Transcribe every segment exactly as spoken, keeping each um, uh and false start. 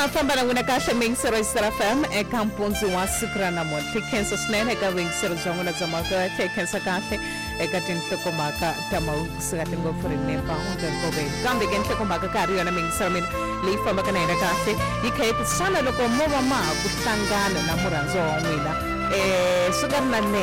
Ha famba na n'wina kahle miyingisero yi Star F M eka mpundzu wa siku ra namuntlha. Hi khensa swinene eka vuyingiseri bya n'wina bya mavete, hi khensa kahle eka tinhlokomhaka ta mahungu kusuka tingopfu ri nemba nkoveni. Kambe ke nhlokomhaka ka ha ri yona miyingisero mina leyi fambaka na yena kahle yi kha yi ku xana loko mo va ma ha ku hlangana na murhandziwa wa n'wina um swi nga ri na lembe,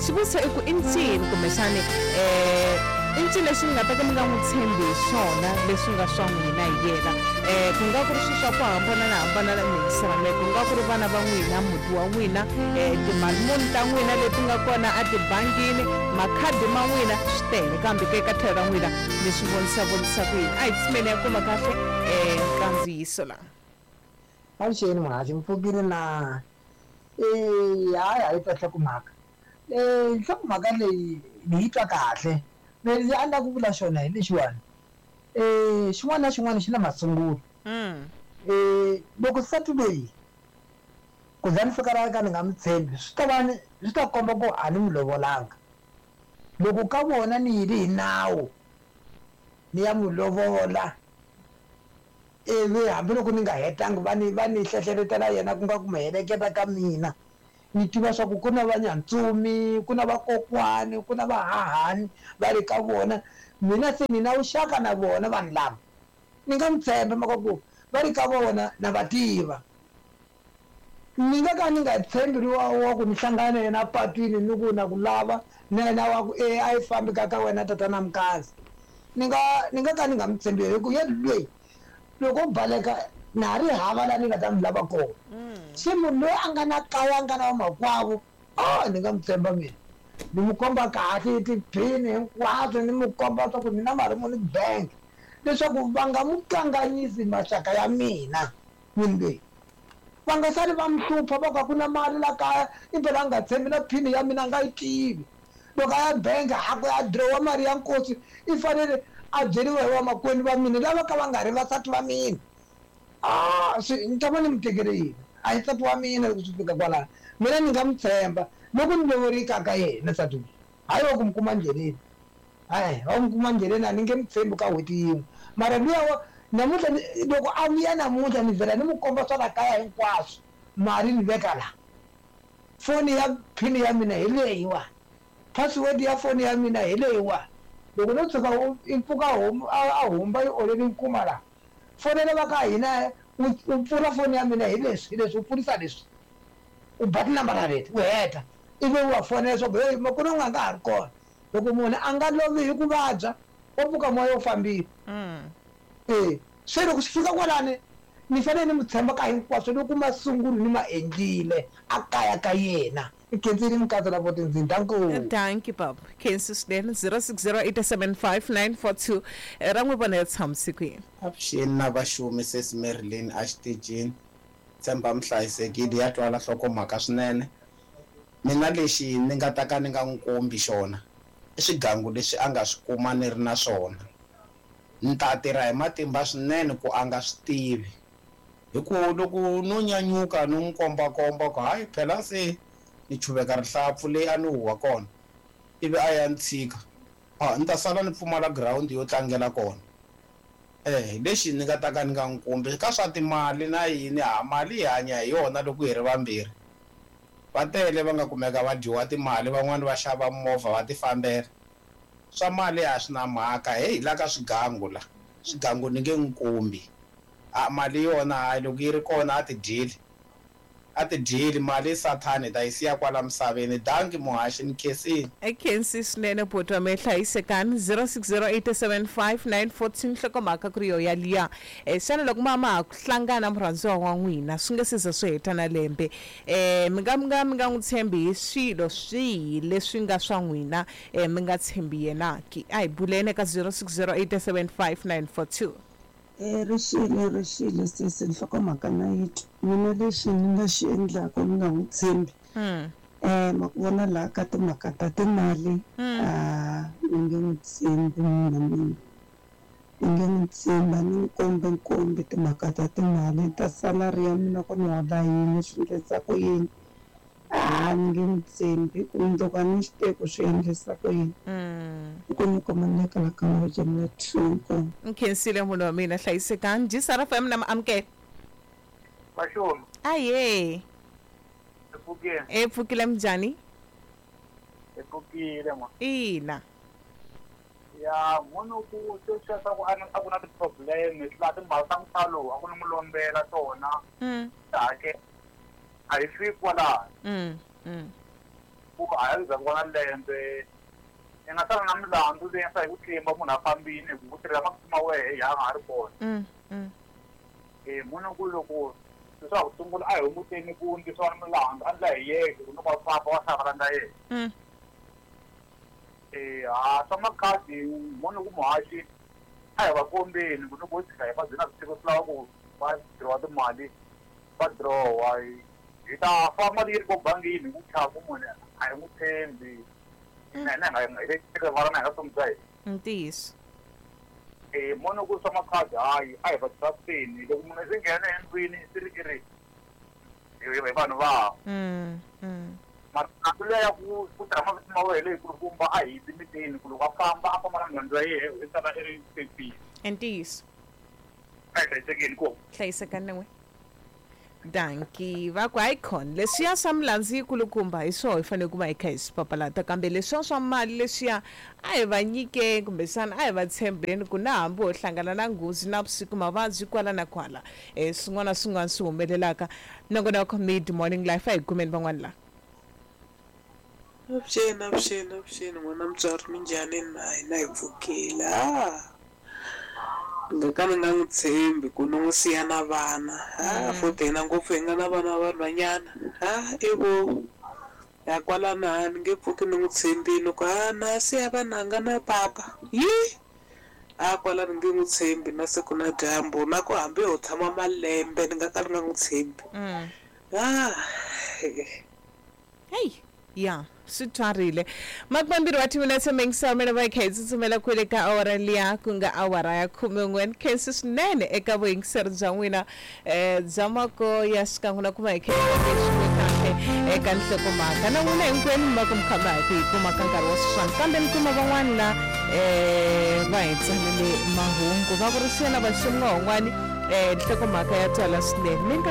xivutiso i ku i ncini kumbexani um i ncini lexi mi nga ta ka mi nga n'wi tshembi hi swona leswi nga swa n'wina hi yena? um ku nga ku ri swilo swa ku hambanahambana na miyingiselo leyi, ku nga ku ri vana va n'wina, muti wa n'wina, um timali muni ta n'wina leti nga kona etibangini, makhadi ma n'wina, swi tele. Kambe ke ka tlhelo ra n'wina mi swi vonisa vonisa ku yini? A hi tshimeni ya kuma kahle um nkandziyiso laha. Avuxeni muhaxi, mi pfukile na? Eya, hayi a yi twa nhlokomhaka. Nhlokomhaka leyi ni yi twa kahle. Lexi a ni lava ku vula xona hi lexiwani, xin'wana na xin'wana xi na masungulo. Loko nsati loyi ku za ni fika la ka ni nga n'wi tshembi swi ta va ni swi ta komba ku a ni n'wi lovolanga. Loko ka vona ni yile hi nawu ni ya n'wi lovola ivi hambiloko ni nga hetanga va ni va ni hlehleletela yena ku nga ku mi heleketa ka mina, ni tiva swa ku ku na vanyantsumi, ku na vakokwani, ku na vahahani va le ka vona, mina se ni na vuxaka na vona vanhu lava, ni nga n'wi tshemba mhaka ku va ri ka vona na va tiva. Ni nga ka ni nga tshembi luwa wa ku ni hlangana na yena patwini ni ku na ku lava na yena wa ku e a yi fambi ka ka wena tatana Mkazi, ni nga ni nga ka ni nga n'wi tshembi hi ku yena loyi loko o baleka na ha ri hava laha ni nga ta n'wi lava kona. Se munhu loyi a nga na kaya a nga na vamakwavo, oh ni nga n'wi tshemba mina, ni n'wi komba kahle tiphini hinkwaswo, ni n'wi komba swa ku ni na mali muni bank leswaku va nga n'wi kanganyisi maxaka ya mina. Munhu loyi va nga sali va n'wi hlupha va ku a ku na mali la kaya, impela a nga tshembi na phini ya mina a nga yi tivi. Loko a ya bank a ku ya dirowa mali ya nkosi i fanele a byeriwa hi vamakwenu va mina lava ka va nga ri vasati va mina. Ah, swi ni ta va ni n'wi tekele yini? A hi nsati wa mina loko swi fika kwalano. Mina ni nga n'wi tshemba loko ni lovorika ka yena nsati loyi, hayi wa ku n'wi kuma ndleleni. Hayi wa ku n'wi kuma ndleleni a ni nge n'wi tshembi ka n'hweti yin'we. Mara luya wa namuntlha ni loko a vuya namuntlha ni vhela ni n'wi komba swa la kaya hinkwaswo, mali ni veka la, foni ya phini ya mina hi leyiwani, password ya foni ya mina hi leyiwani. Loko no tshuka i pfuka homu a humba yi oleli nkuma la, fonela va ka hina u pfula foni ya mina hi leswi hi leswi, u pfurisa leswi, u ba tinambara leti u heta ivi u va fonela leswaku heyi makwerhu n'wi a nga ha ri kona. Loko munhu a nga lovi hi ku vabya wa pfuka moya wu fambile. E se loko swi fika kwalani ni fanele ni n'wi tshemba ka hinkwaswo loko masungulo ni ma endlile a kaya ka yena. Ni khensile Mukatsa la Votindzini. Danko. Dankie baba. Khensi swinene. Zero six zero eight seven five nine four two ra n'wi vona ya tshamise kwini. Avuxeni na vaxumi sesi Marilyn a xitichini. Tshemba mi hlayisekile ya twala nhlokomhaka swinene. Mina lexi ni nga ta ka ni nga n'wi kombi xona i swigangu leswi a nga swi kuma ni ri na swona. Ni ta tirha hi matimba swinene ku a nga swi tivi. Hi ku loko no nyanyuka no n'wi kombakomba ku hayi phela se ni chuveka rihlampfu leyi a ni huha kona ivi a ya ni tshika, a ni ta sala ni pfumala girawundi yo tlangela kona. Eh lexi ni nga ta ka ni nga n'wi kombi ka swa timali na yini, ha mali hi hanya hi yona loko hi ri vambirhi. Va tele va nga kumeka va dyiwa timali, van'wani va xava movha va ti fambela. Swa mali a swi na mhaka, heyi la ka swigangu la, swigangu ni nge n'wi kombi. A mali yona hayi loko yi ri kona a ti dyeli, a ti dyeli mali sathani hi ta yi siya kwala misaveni. Danki muhaxi ni khensile. I khensi swinene buti wa mehe, hlayisekani. Zero six zero eight seven five nine four two nhlokomhaka ku ri yo yaliya. E xana loko ma ma ha ku hlangana murhandziwa wa n'wina swi nga se za swi heta na lembe, e mi nga mi nga mi nga n'wi tshembi hi swilo swihi leswi nga swa n'wina, e mi nga tshembi yena ki? A hi buleni eka zero six zero eight seven five nine four two. E ri xile ri xile sesi nhlokomhaka na yi twa. Mina lexi ni nga xi endlaka ni nga n'wi tshembi, um ma ku vona laha ka timhaka ta timali, a ni nge n'wi tshembi munhu wa mina, ni nge n'wi tshembi a ni n'wi kombi nkombi timhaka ta timali ta salary ya mina ku ni hola yini swi endlisa ku yini, a ni nge n'wi tshembi ku mundzuku a ni swi tivi ku swi endlisa ku yini. I ku ni kuma ni le ka la ka Mavejamela two inkomu. Ni khensile munhu wa mina, hlayisekani. G S R F M na mi amukela. Vaxoni. Aye. Epfukile. Epfukile minjhani? Epfukile ma. Ina. Ya munhu ku sweswiya swa ku a a ku na ti-problem laha timali ta mutalo a ku ni mu lombela tona. Mm. Hakela. A hi fiki kwalano. Mm. Mm. Ku a hi za ku va na lembe. I nga sala na milandzu leyi nga hi ku tlimba munhu a fambile hi ku tirhela masiku ma wehe ya nga ha ri kona. Mm. Mm. Eh munhu ku loko leswaku sungula a hi hunguteni ku ndlisiwa milandzu a ndla hi yeke ku loko a famba wa hlangana na yena. Mm. Eh ha swa makhadi munhu ku muhaxi a hi va kombeni ku loko ho tshika hi va byela swi swi lava ku va dirowa timali va dirowa hi ta fa mali yi ri ko bangini hi ku chava ku munhu a hi n'wi tshembi. Na hina hi nga hi rivala na hi nga vutomi bya hina. Ntiyiso. Eh munhu ku swa makhadi hayi a hi va trusteni loko munhu se nghena endlwini swi ri i ri hi vanhu va. Mm. Mm. Mara ya ku ku tirha mavito ma wehe leyikulukumba a hi timitini ku loko a famba a famba na nhundzu ya yehe i sala i ri safety. Ntiyiso. A hi hlayisekeni ko. Hlayisekani na n'we. Danki va ku hayi khona leswiya swa milandzu yikulukumba hi swoho hi fanele ku va hi kha hi swi papalata kambe leswiya swa mali leswiya a hi va nyikeni kumbexana a hi va tshembeni ku na hambi ho hlangana na nghozi na vusiku mavabyi kwala na kwala um swin'wana na swin'wana swi humelelaka. Nongonoko Mid Morning Life a hi kumeni van'wana laha. Avuxeni, avuxeni, avuxeni n'wana mutswari minjhani na hina hi pfukile. Ah ni nga ka ni nga n'wi tshembi ku ni n'wi siya na vana. Ah futhi hina ngopfu hi nga na vana va vanhwanyana. Ah ivo ya kwalano a ni nge pfuki ni n'wi tshembile ku a na siya vananga na papa. Yi a kwalano ni nge n'wi tshembi na siku na dyambu na ku hambi ho tshama malembe ni nga ka ni nga n'wi tshembi. Mm. Ah Hey. Ya swi twarile makumembirhi wa timinetse mingisamela va kha hi tsutsumela kwele ka awara liya ku nga awara ya khumen'we ni khensi swinene eka vuyingiseri bya n'wina um bya mako ya xikan'we na ku va hi kha hi kahle eka nhlokomhaka na n'wina hinkwenu mi va ku mi kha mi ha ku hi kuma ka nkarhi wa sweswiwani kambe mi kuma van'wana la um va hi tsalele mahungu va vurisiwa na vaxon'wahon'wani um nhlokomhaka ya twala swinene mi nga